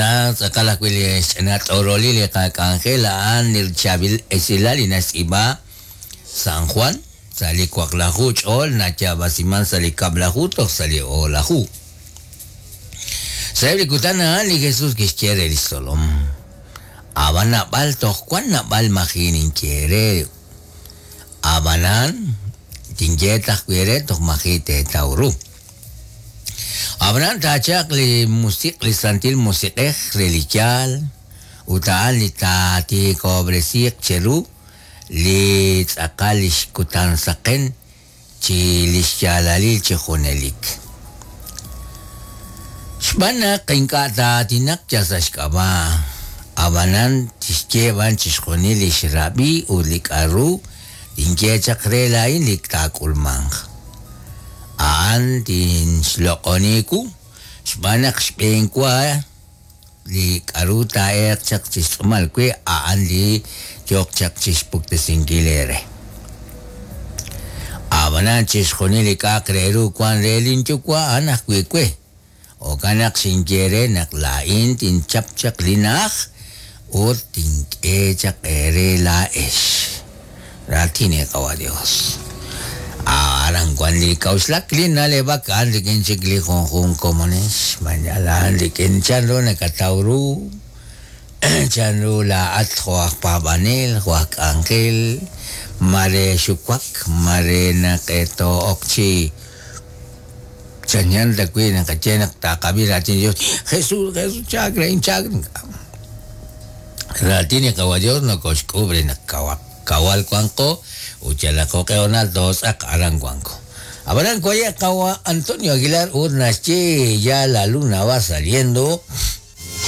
Aran tz'aqal ajwi' li xch'ina t'orolil li qak'anjel a'an li chaab'il esilal li naxtz'iib'a San Juan sa' li waqlaju ch'ol nayaab'asiman sa' li kab'laju toj sa' li o'laju. Sa'eb' li kutan a'an li Jesús kixye re lix tzolom, Ab'an naab'al toj wan naab'al maji' ninye eere, ab'anan tinye ta ajwi' eere toj maji' teetaw ru. Ab'anan taachalq li Musiq' li Santil Musiq'ej re li yaal, ut a'an li taatiikob'resiiq cheru li tz'aqal lix kutan saqen chi lix yaalalil chi junelik. Xb'aan naq ink'a' taa'aatinaq yal sa' xk'ab'a', ab'anan tixye b'an chixjunil li xrab'i ut li k'a'ru tinye chaq re laa'in li taak'ulmanq. A'an tinxloq'oni wu, xb'aan naq xb'een wa li k'a'ru taa'elq chaq chi xtz'uumal we a'an li yooq chaq chixpuktesinkil eere. A'b'anan chixjunil li k'a'aq re ru wan re lin Yuwa' a'an ajwi' we. Jo'kan naq xinye eere naq laa'in tinchap chaq li na'aj ut tink'e chaq eere laa'ex. Raatin li Qawa' Dios. Aran wan li k'a'uxlak, li na'leb'ak a'an rik'in chik li junjunq komonex, xb'aan yal a'an rik'in chan ru nakataw ru, chan ru laa'at jo' aj paab'anel, jo' aj k'anjel, mare xuwak, mare naq too'ok chi Chanchan ta wi' naqaye naq taqab'i raatin li Dios, Jesus, Jesus, chaak re, chaak re. Raatin li Qawa' Dios nokoxk'uub' re naq kawaq, kawal wanqo ut yalaq jo'q'e hoonal tootz'aq aran wanko. Ab'anan waye' Qawa' Antonio Aguilar ut naxye ya la luna va saliendo.